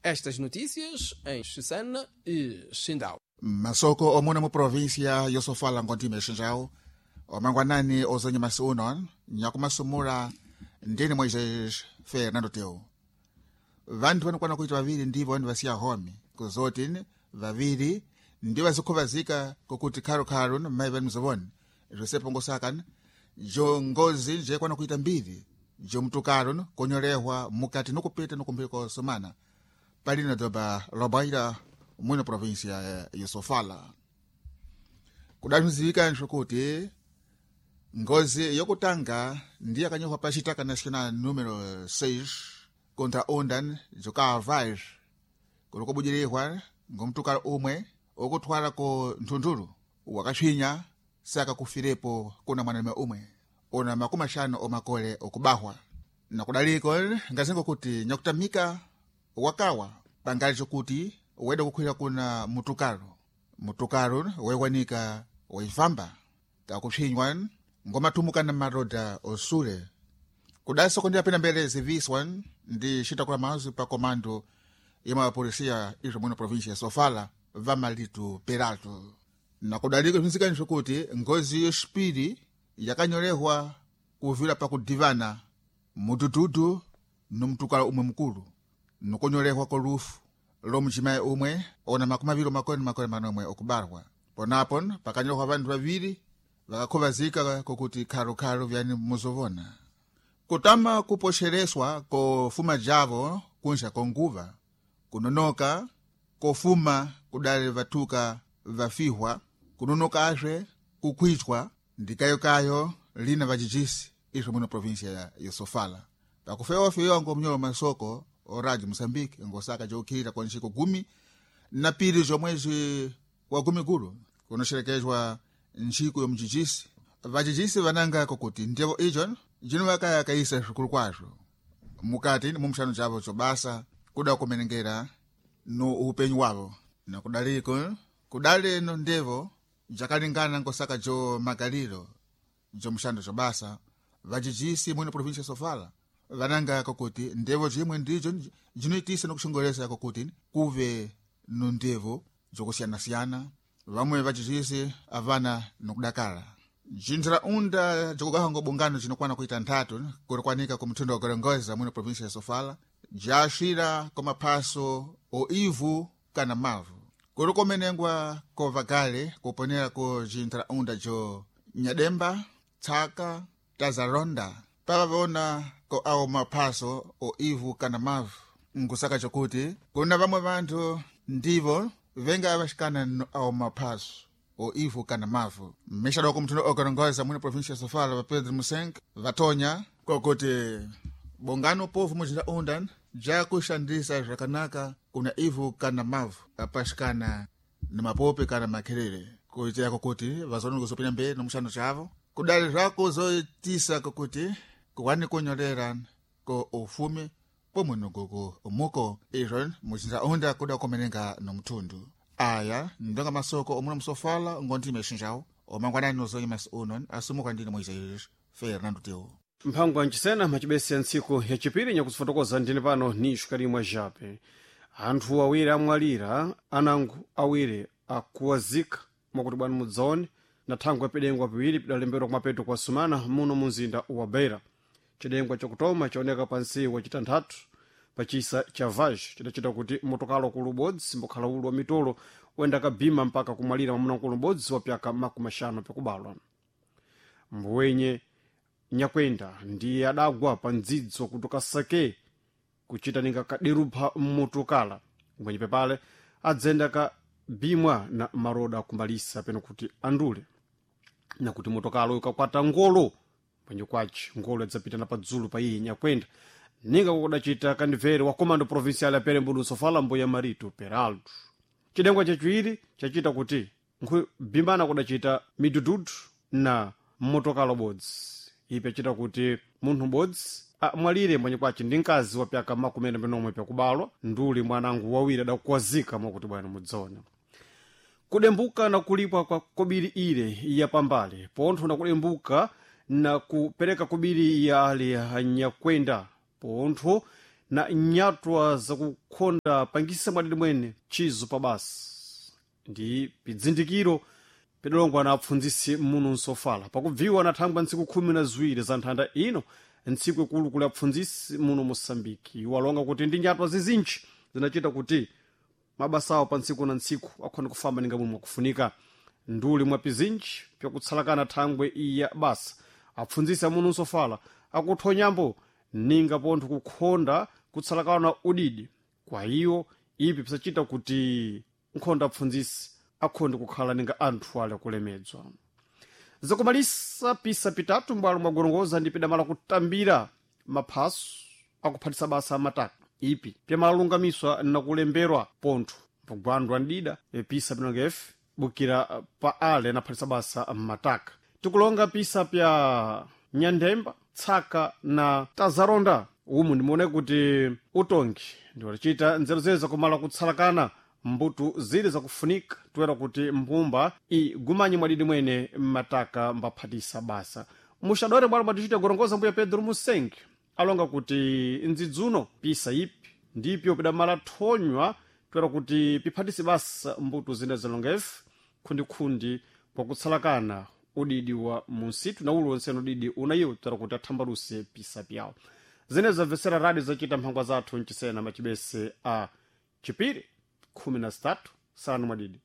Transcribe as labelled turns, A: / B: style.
A: Estas notícias em Chissana e Xindau.
B: Masoko omuna mu província yosofala ngontime xinjawo omangwanani ozonye masi uno nyakumasumula ndini Moisés Fernando Teu. Vanthu vanokwana kuita vaviri ndivo vanthu vasiya home kuzoti vaviri ndi vazikhuvazika kokuti khalu-khalu mayi vanu mzovone Josepo Ngosakana jo ngozi njekwana kuita mbiri jo mtukalo konyolehwa mukati nokupita nokumphika kosomana palino doba lobaira mwino província ya Sofala. Kudamizika nxokuti ngozi yokutanga ndiye akanyohwa pa Xitaka Nacional número 6 contra ondan jokavaz kulokobujirihwa ngomtukalo umwe okuthwala ko nthunthulu wakatswinya saka kufirepo kuna mwanalume umwe una makumi axanu omakole okubahwa nakudaliko ngazengo kuti nyakutamika wakawa pangali cokuti weda kukhwira kuna mutukalo mutukalo wewanika waifamba kakupswinywa ngomathumuka na maroda osule kudasoko ndi apena mbele ziviswa ndi xitakula mazu pa komando ya mapolisiya izvo mwino província ya Sofala vamalitu peralto. Nakudaliko bzinzikani kuti ngozi yoxipiri yakanyolehwa kuvira pakudivana mudududu nomtukalo umwe mukulu nokonyolehwa kolufu lomujimayi umwe ona makumi aviri omakole na makole manomwe okubarwa. Ponapo pakanyolehwa vanthu vaviri vakakhuvazika kokuti khalu-khalu vyani muzovona kutama kupoxereswa kofuma javo kunja konguva kunonoka kofuma kudali vathuka vafihwa kunonoka azwe kukhwichwa ndikayokayo lina vajijisi izvo muno província ya Sofala. Pakufewa-fewa ngomnyolo masoko oradio Moçambique ngosaka jokhira kwa nxiko 12 zomwezi wa 10 gulu kunoxerekezwa nxiku yomujijisi. Vajijisi vananga kokuti ndevo ijo jino vakayakaisa zvikulu kwazvo mukati mumxano javo cobasa kuda kumenengera no upenyu wavo. Nakudaliko kudali no ndevo jakalingana ngosaka jo magaliro jomuxando cobasa vajijisi mwino província Sofala vananga kokuti ndevo jimwe ndijo jinoitisa nokuxongolesa kokuti kuve no ndevo jokusiyana-siyana. Vamwe vajijisi avana nokudakala jintharaunda jikugaha ngobungano jinokwana kuita nthatu kulikwanika kumthundo wa Gorongosa mwino província ya Sofala jaxira komaphaso o ivu kana mavu kuli kumenengwa kovagale kuponera ku jintharaunda jo Nyademba, Tsaka, Tazaronda pavavona ko awo maphaso o ivu kana mavu nkusaka cokuti kuna vamwe vanthu ndivo venga avaxikana no awo maphaso o ivu kana mavu. Mixadoko mthundo okorongoza mwina província ya Sofala va Pedro Musenk vatonya kokuti bongano povo mujinda jakuxandisa zvakanaka kuna ivu kana mavu apaxikana na mapope kana makhelele kuitira kokuti vazone kuzopinda mberi no muxando cavo kudali zvako zoitisa kokuti kuwani kunyolera ko ufumi pomwe nogoko umuko izvo mujinda kuda kumenenga no mthundu. Aya ndonga masoko omuna musofala ngontime xinjawo omangwanani nozonye masi uno asumuka ndini Moisés Fernando Teu.
C: Mphango ancisena macibese ya ntsiku yacipiri nyakuzifotokoza ndine pano ni xikalimwa jape. Anthu awiri amwalira anango awiri akuwazika mwakuti bwanu mudzaone na thangwe pidengwa piwiri pidalembedwa kumapeto kwa sumana muno munzinda wa Beira. Cidengwa cakutoma chaoneka pansi wa citanthatu pachisa cha vaj chidacita kuti motokalo ku lubodzi mbokhala ulu wa mitolo wenda kabhima mpaka kumwalira mwamuna lubodzi wa pyaka 50 pyakubalwa. Mbuwenye nyakwenda ndiye adagwa pa ndzidzo kutoka sake kuchita ninga kaderupha mmotokala mwenye pepale adzenda kabhimwa na maroda kumbalisa peno kuti andule nakuti motokalo ikakwata ngolo mwenye kwaci ngolo adzapita na padzulu pa iye nyakwenda ninga kukudacita kandibvere wa comando provincial ya Perembudu Sofala mbuya Marito Peralto. Cidengwa chaciwiri chacita kuti nkhubimbana kudacita midududu na motokalo bodzi ipi acita kuti munthu bodzi amwalire mwenye kwace ndi mkazi wa pyaka 47 pyakubalwa nduli mwanangu wawiri adakuwazika mwakuti bwana mudzaona. Kudembuka na kulipwa kwa kobiri ile ya pambale pontho na kudembuka na kupereka kobiri ya ali anyakwenda pontho Na nyatwa zakukhonda pangisa mwadidi mwene chizo pa basa ndi pidzindikiro pidalongwa na apfundzisi muno nsofala pakubviwa na thangwa ntsiku 12 za nthanda ino, ntsiku ikulu kuli apfundzisi muno Mosambiki. Iwo alonga kuti ndi nyatwa zizinji zinachita kuti mabasa awo pa ntsiku na ntsiku akhona kufamba ninga momwe akufunika. Nduli mwa pizinji pyakutsalakana thangwe iya basa, apfundzisi amuno nsofala akuthonyambo ninga pontho kukhonda kutsalakana udidi kwa iwo, ipi pisachita kuti nkhonda apfundzisi akhonde kukhala ninga anthu ali akulemedzwa. Zakumalisa pisa pitatu mbwalo mwagorongoza ndi pidamala kutambira maphaso akuphatisa basa amataka, ipi pyamalungamiswa nakulemberwa pontho pogwandwa ndida pisa pinonga efe bukira pa ale anaphatisa basa mmataka. Tikulonga pisa pya Nyandemba, Tsaka na Tazaronda. Umu ndimuone kuti utongi ndiwalichita nzeru zeze zakumala kutsalakana mbuto zili zakufunika toera kuti mbumba igumanye mwadidi mwene mmataka mbaphatisa basa. Muxadore bwalo bwatichita gorongoza, mbuya Pedro Musengi alonga kuti ndzidzuno pisa ipi ndipyo pidamala thonywa toera kuti piphatise basa mbuto zina zalonga ife khundikhundi kwakutsalakana udidi wa munsitu na uliwonse udidi unayiwo toera kuti athambaluse pisa pyawo. Zine zamvesera radio zachita mphangwa zathu mchisena machibese a chipiri 13 sanu mwadidi.